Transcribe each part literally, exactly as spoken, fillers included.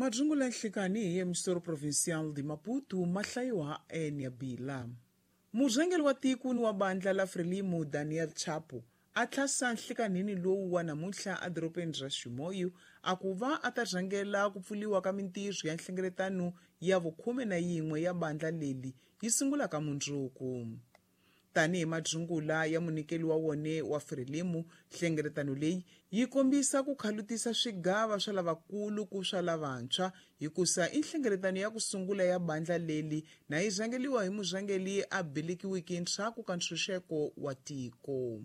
Madzungula nhlikani hi emissora provincial de Maputo mahlayiwa eNyabila. Murhangeri wa tiko ni wa bandla la Frelimo Daniel Chapo a tlhasa nhlikanhini lowu wa namuntlha edorobeni ra Chimoio a ku va a ta rhangela ku pfuriwa ka mintirho ya nhlengeletano ya vukhume na yin'we ya bandla leri yi sungulaka mundzuku. Tanihi madzungula ya munyikeli wa wone wa Frelimo, nhlengeletano leyi yi kombisa ku khalutisa swigava swa lavakulu ku swa lavantshwa hikusa i nhlengeletano ya ku sungula ya bandla leri na yi rhangeliwa hi murhangeri a belekiweke ndzhaku ka ntshunxeko wa tiko.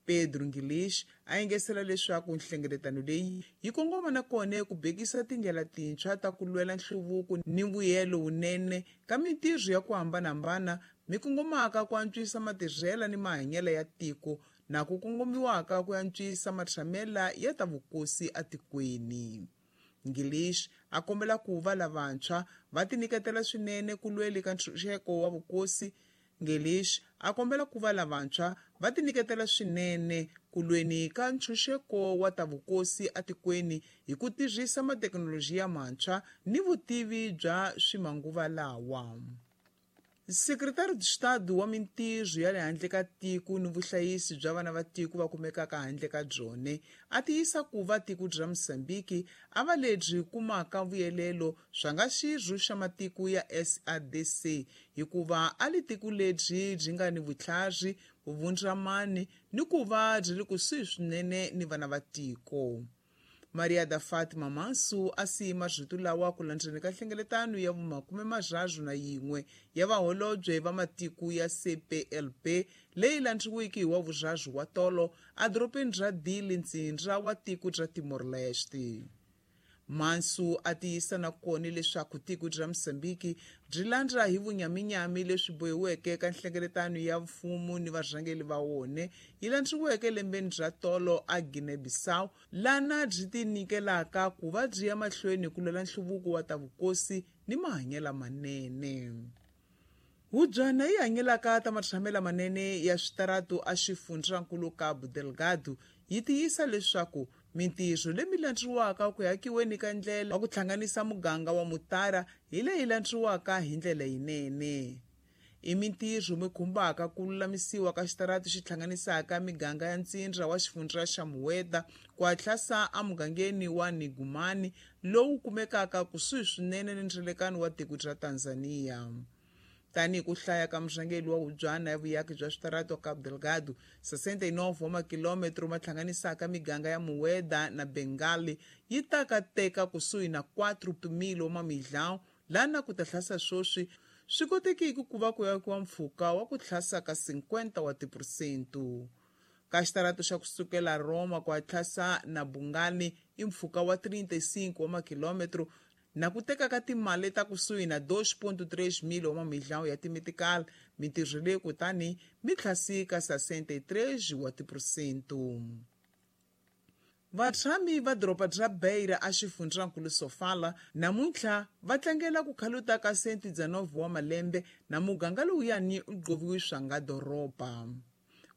Pedro Ngilish a engetela leswaku nhlengeletano leyi yi kongoma na kona ku bekisa tindlela tintshwa ta ku lwela nhluvuko ni mbuyelo wunene ka mintirho ya ku hambanahambana mi kongomaka ku antswisa matirhelo ni mahanyelo ya tiko na ku kongomiwaka ku antswisa matshamela ya ta vukosi etikweni. Ngilish a kombela ku va lavantshwa va tinyiketela swinene ku lweli ka ntshunxeko wa vukosi. Ngelish a kombela ku va lavantshwa va tinyiketela swinene ku lweni ka ntshunxeko wa ta vukosi etikweni hi ku tirhisa mathekinoloji mantshwa ni vutivi bya swimanguva lawa. Sekretari de Estado wa mintirho ya le handle ka tiko ni vuhlayisi bya vana va tiko va kumekaka handle ka byone a tiyisa ku va tiko bya Mozambique a va lebyi kumaka vuyelelo swa nga xirho xa matiko ya S A D C hikuva a li tiko lebyi byi nga ni vutlhari, vuvundzamani ni ku va byi ri kusuhi swinene ni vana va tiko. Maria da Fatima Manso a siye marito lawa ku landzeni ka nhlengeletano ya vumakume marharhu na yin'we ya vaholobye va matiko ya C P L P leyi landziweke hi wa vurharhu wa tolo edorobeni ra Dili, ntsindza wa tiko ra Timor-Leste. Manso a tiyisa na kona leswaku tiko ra Mozambique byi landza hi vunyaminyami leswi bohiweke ka nhlengeletano ya mfumo ni varhangeri va wona yi landziweke lembeni ra tolo a Guinea-Bissau, lana byi tinyikelaka ku va byi ya mahlweni ku lwela nhluvuko wa ta vukosi ni mahanyelo manene. Hubyana yi hanyelaka ta matshamelo manene ya switaratu a xifundzankulu Cabo Delgado yi tiyisa leswaku mintirho leyi landziwaka ku hakiweni ka ndlela wa ku hlanganisa muganga wa Mutara hi leyi landziwaka hi ndlela yinene. I mintirho mi khumbaka ku lulamisiwa ka xitaratu xi hlanganisaka miganga ya ntsindza wa xifundza xa Mueda ku hatlasa emugangeni wa Nigumani lowu kumekaka kusuhi swinene ni ndzilekano wa tiko ra Tanzania. Tanihi ku hlaya ka murhangeri wa hubyana ya vuyaki bya switaratu Cabo Delgado, sessenta e nove wa makilometro ma hlanganisaka miganga ya Mueda na Bengali yi ta ka teka kusuhi na quatro mil wa mamilhão lana ku ta hlasa sweswi swi kotekiki ku va ku yakiwa mpfhuka wa ku hlasa ka cinquenta wa tiphesente. Ka xitaratu xa kusukela Roma ku hatlasa na Bungani i mpfhuka wa trinta e cinco wa makilometro na ku teka ka timali ta kusuhi na dois ponto três mil wa mamilhão ya timitikali, mintirho leyi kutani mi tlhasika sessenta e três wa tiphesente. Vatshami va doroba ra Beira a xifundzankulu Sofala namuntlha va tlangela ku khaluta ka cento e dezenove wa malembe na muganga lowuyani u gqoviwe swa nga doroba.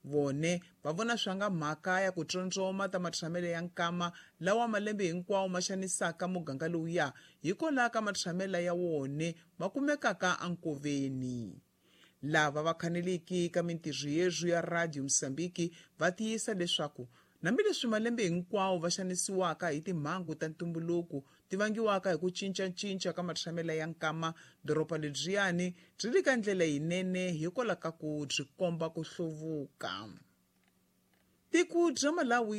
Vone va vona swa nga mhaka ya ku tsondzoma ta matshamelo ya nkama lawa malembe hinkwawo ma xanisaka muganga lowuya hikwalaho ka matshamelo ya wone ma kumekaka enkoveni. Lava va khaneliki ka mintirho yezwu ya Radio Mozambique va tiyisa leswaku hambileswi malembe hinkwawo va xanisiwaka hi timhangu ta ntumbuluko ti vangiwaka hi ku cincacinca ka matshamelo ya nkama, doroba lebyiyani byi ri ka ndlela yinene hikwalaho ka ku byi komba ku hluvuka. Tiko bya Malawi